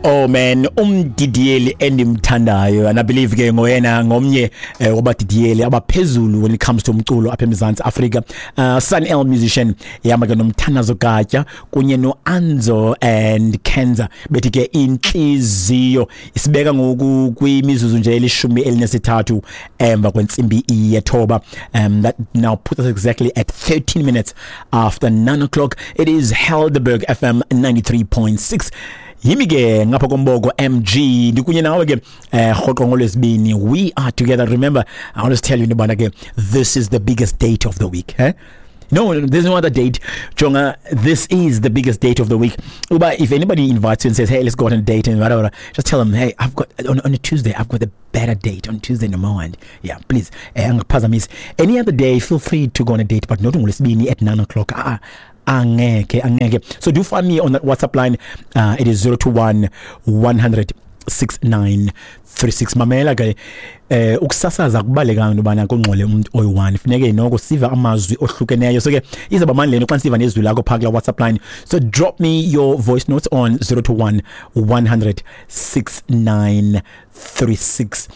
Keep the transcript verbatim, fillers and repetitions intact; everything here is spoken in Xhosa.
Oh man, umdidiyeli endimthandayo, and I believe ke ngoyena ngomnye eh, wabadidiyeli abaphezulu when it comes to umculo apha eMzantsi Afrika. Uh Sun El Musician ihamba ke noMthandazo Gatya kunye noAnzo and Kenza, bethi ke Intliziyo. Isibeka ngoku kwimizuzu nje elishumi elinesithathu emva kwentsimbi yethoba. Um that now puts us exactly at thirteen minutes after nine o'clock. It is Helderberg F M ninety-three point six. Yimi ke ngapha komboko M G, ndikunye nawe ke eh rhoqo ngolwesibini. We are together. Remember, I always tell you into ke this is the biggest date of the week, eh? No, there's no other date. Jonga, this is the biggest date of the week. Uba, if anybody invites you and says, "Hey, let's go on a date," and whatever, just tell them, "Hey, I've got, on, on a Tuesday, I've got a better date on Tuesday in the morning." Yeah, please. Eh, angaphazamisi. Any other day, feel free to go on a date, but not on ngolwesibini at nine o'clock. Ah, angeke, angeke. So do find me on that WhatsApp line. Uh, it is zero two one one hundred six nine three six. Mamela ke, eh ukusasaza kubaleka into bana kungxole umuntu oyi-one, funeke noko siva amazwi ohlukeneyo. So ke izaba mani lento xa siva nezwi lakho phaa kula WhatsApp line. So drop me your voice notes on zero two one one hundred six nine three six.